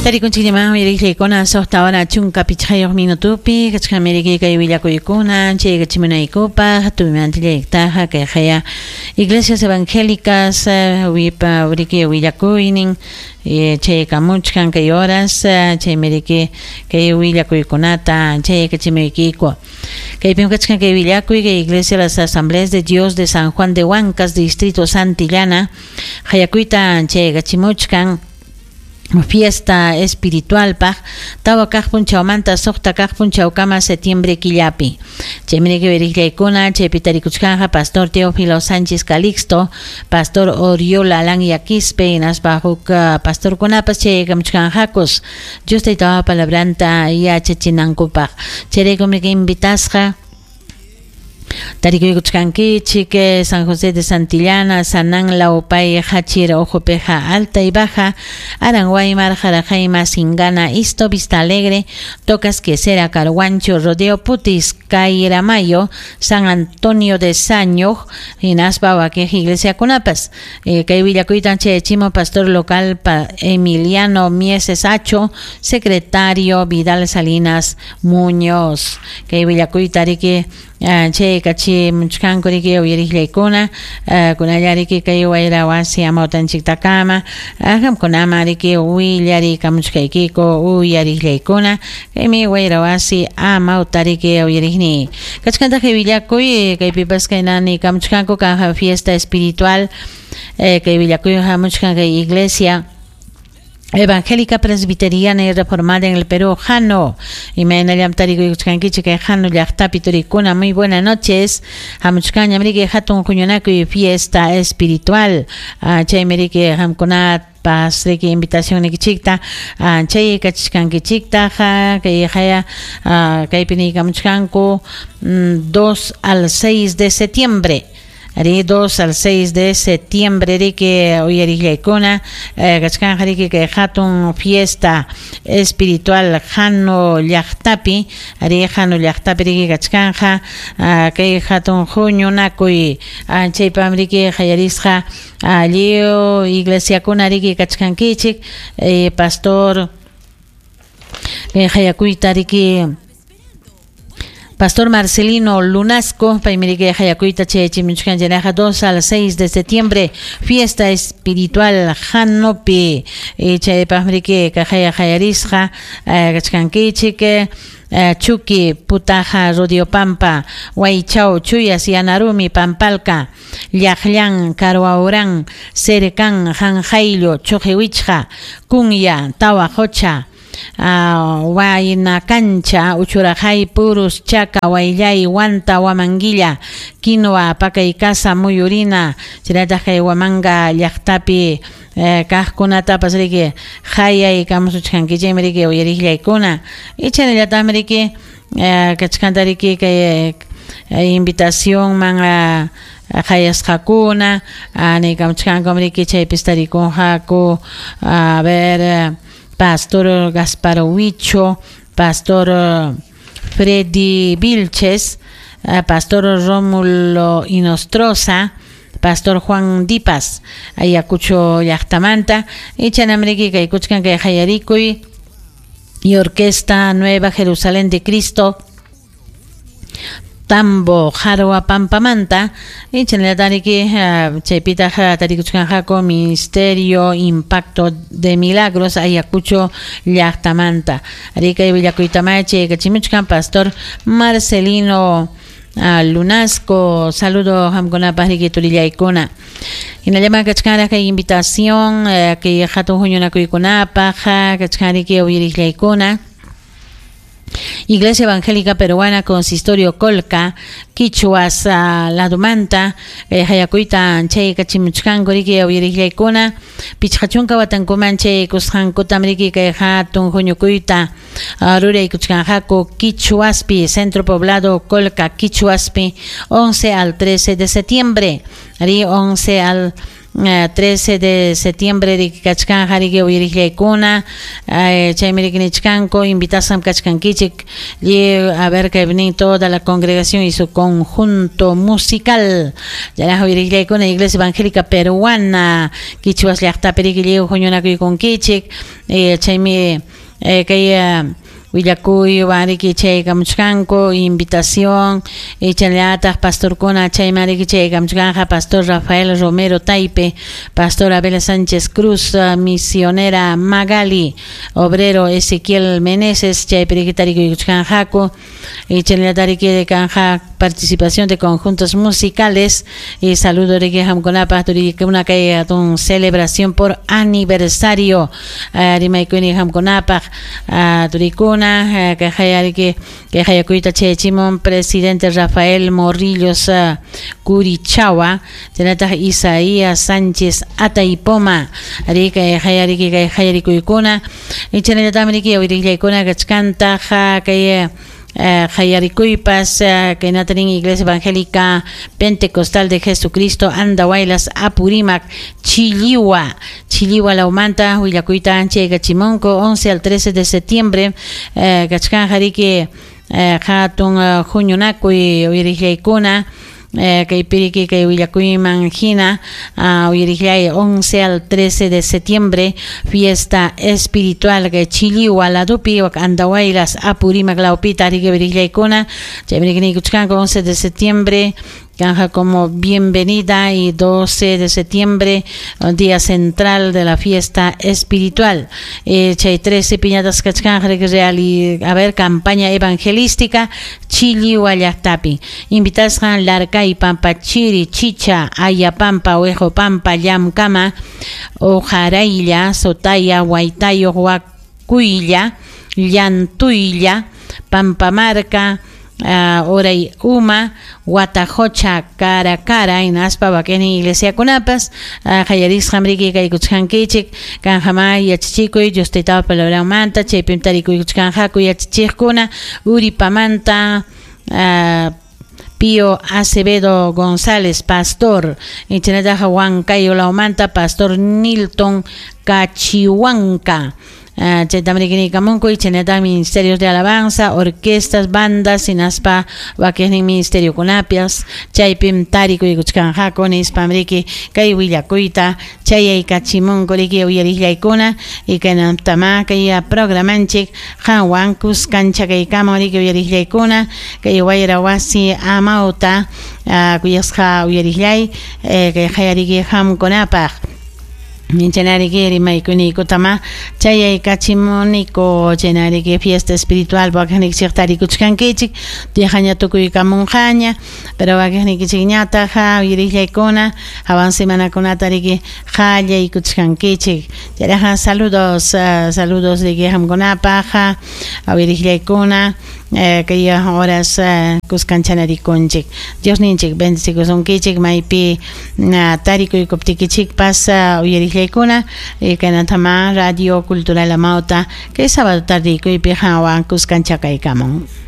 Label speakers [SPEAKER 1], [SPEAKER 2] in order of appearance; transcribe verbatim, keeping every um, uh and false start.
[SPEAKER 1] Tarikunchikllaman uyariqllaykuna suqta hora chunka pichqayuq minutupi kachkan kay willakuykuna chaykachimunaykupaq tuymanta kay haya iglesias evangélicas wipa uriki willakuynin chaykamuchkan kay horas chaymiriki kay willakuykunata chaykachimuykiku kaypim kachkan kay willakuy kay Iglesia de las Asambleas de Dios de San Juan de Huancas Distrito Santillana hayakuyta chaykachimuchkan fiesta espiritual paq tawa kaq punchawmanta suqta kaq punchawkama septiembre killapi chaymi wiriqllaykuna chaypi tarikuchkanja pastor Teófilo Sánchez Calixto, pastor Oriola Alan Quispe hinaspa huk pastorkunapas chaykamuchkanjakus Dios taytawa palabranta yachachinankupaq chayraykum invitasqa Tarikuykuchkankichik San José de Santillana, Sanán, Laupay, Hachira, Ojopeja, Alta y Baja, Aranguaymar, Jarajaima, Singana, Isto, Vista Alegre, Tocas, Quesera, Carguancho, Rodeo, Putis, Cairamayo, San Antonio de Saño, hinaspa Waquej, Iglesia Cunapas, eh, kay willakuytan chimo pastor local pa Emiliano Mieses Acho, secretario Vidal Salinas Muñoz, kay willakuyta riki chay kachi muchkanku riki uyariqllaykuna kunallariki kay wayra wasi amawtanchiktakama qamkunama riki willarikamuchkaykiku uyariqllaykuna kaymi wayra wasi amawtariki uyariqni kachkantaq willakuy kaypipas kaynani kamuchkanku kanja fiesta espiritual kay willakuy hamuchkan kay iglesia Evangélica Presbiteriana y Reformada en el Perú, Jano. Y me Jano llaqtapi turikuna. Muy buenas noches. Hamuchkaña mriki hatun huñunakuy fiesta espiritual. Chay mriki hamkunat pas riki invitación nikichikta chay kachishkankichikta kay haya kaypi niykamuchkanku dos al seis de septiembre. Ari dos al seis de septiembre riki uyariqllaykuna kachkanja riki kay hatun fiesta espiritual Jano llaqtapi ari Jano llaqtapi riki kachkanja kay hatun huñunakuy chaypam riki hayarisqa lliw iglesiakuna riki kachkankichik pastor hayakuyta riki Pastor Marcelino Lunasco, paymiriki hayakuyta chayachimuchkan chaynaqa dos al seis de septiembre, fiesta espiritual Janopi, chaypaqmiriki kajaya hayarisqa kachkankichik Chuqui, Putaja, Rodiopampa, Huaychao, Chuyas, Yanarumi, Pampalca, Llaqllan, Caruaurán, Cercán, Janjailo, Chojehuichja, Cunya, Tahuajocha, Uh, Huayna Cancha, Uchurajay, Purus, Chaca, Huayllay, Huanta, Huamanguilla, Quinoa, Pacaycasa, Muyurina, chaynataq Huamanga llaqtapi eh, kaqkunatapas riki hayay kamusuchkankichikmi riki uyariqllaykuna ichaynallataqmi riki eh, kachkanta riki kay eh, invitacionman uh, hayasqakuna niykamuchkankum riki chaypis tarikunqaku a ver Pastor Gaspar Huicho, Pastor Freddy Vilches, Pastor Rómulo Inostroza, Pastor Juan Dipas, Ayacucho llaqtamanta, ichanamriki kaykuchkan kay hayarikuy y Orquesta Nueva Jerusalén de Cristo, Tambo, Jarua, Pampamanta, y chanlatariki, chaypitaq tarikuchkanqaku Ministerio Impacto de Milagros, Ayacucho llaqtamanta. Arika willakuytamay chaykachimuchkan Pastor Marcelino Lunasco, saludo qamkunapaq riki turillaykuna. Hinallaman kachkanraq kay invitación kay hatun huñunakuykunapaq kachkan riki uyariqllaykuna. Iglesia Evangélica Peruana, Consistorio Colca, Quichuas uh, Ladumanta, eh, hayakuyta chay kachimuchkanku riki uyariqllaykuna, pichqa chunka watankuman chay kusqankutam riki kay hatun huñukuyta uh, ruraykuchkanqaku Quichuaspi, Centro Poblado Colca, Quichuaspi, once al trece de septiembre, ri once al trece de septiembre riki kachkanja riki uyariqllaykuna chaymi riki nichkanku invitasqam kachkankichik a ver que vienen toda la congregación y su conjunto musical. Chayraqa uyariqllaykuna Iglesia Evangélica Peruana Quichuas llaqtapi riki lliw huñunakuykunkichik chaymi kay willakuywan riki chaykamuchkanku invitación chayllataq pastorkuna chayman riki chaykamuchkanja Pastor Rafael Romero Taipe, Pastor Abel Sánchez Cruz, misionera Magali, obrero Ezequiel Meneses, chaypi riki tarikuykuchkanjaku y chayllataq riki kanja participación de conjuntos musicales y saludo riki hamkunapaq turikuna kay hatun celebración por aniversario rimaykuni hamkunapaq turikuna kay hayariki kay hayakuyta chayachimun presidente Rafael Morrillos Curichawa chaynataq Isaías Sánchez Ataypoma ari kay hayariki kay hayarikuykuna y chaynallataqmi riki uyariqllaykuna kachkantaq kay hayarikuypas kaynata nin Iglesia Evangélica Pentecostal de Jesucristo Andahuaylas Apurímac Chilliwa Chilliwa lawmanta willakuyta chaykachimunku once al trece de septiembre kachkanja riki hatun huñunakuy uyariqllaykuna kaypi riki kay willakuyman hina uyariqllay once al trece de septiembre fiesta espiritual kay Chilliwa ladupi Andahuaylas Apurímac lawpita riki uyariqllaykuna chaymi riki niykuchkanku once de septiembre canja como bienvenida y doce de septiembre día central de la fiesta espiritual. Eh, chay trece piñatas kachkanja real y a ver campaña evangelística Chilliwa llaqtapi invitasqan Larcay Pampa Chiri Chicha Ayapampa Oejo Pampa Llamkama Ojaraylla Sotaya Huaytayo Huacuylla Llantuylla Pampamarca Uh, Oray Uma, Huatajocha, Cara Cara, hinaspa wakinnin iglesiakunapas, qallarisqam riki kaykuchkankichik, kanjama yachachikuy Dios taytapa palabranmanta, chaypim tarikuykuchkanqaku yachachiqkuna, Uripamanta, uh, Pío Acevedo González, pastor, chaynataqa Huancayo lawmanta, pastor Nilton Cachihuanca. Chaytam riki niykamunku chaynataq ministerios de alabanza, orquestas, bandas, hinaspa wakinnin ministeriokunapas chaypim tarikuykuchkanqaku nispam riki kay willakuyta chayaykachimunku riki uyariqllaykuna y kaynatama kay programanchik qanwan kuskanchakaykamun riki uyariqllaykuna kay wayra wasi amawta kuyasqa uyariqllay kay hayariki qamkunapaq Chaynariki rimaykunaykutama chayaykachimuniku chaynariki fiesta espiritual wakinnikichik tarikuchkankichik tiyajaña tukuykamunqaña pero wakinnikichikñataq uyariqllaykuna hawan semanakunata riki qallaykuchkankichik chayraqa saludos saludos riki qamkunapaq uyariqllaykuna kay horas kuskanchanarikunchik Dios ninchik bendecikusunkichik maypi tarikuykuptikichikpas uyariqllaykuna kaynatama Radio Cultural Amauta kay sábado tardikuypi qanwan kuskanchakaykamun.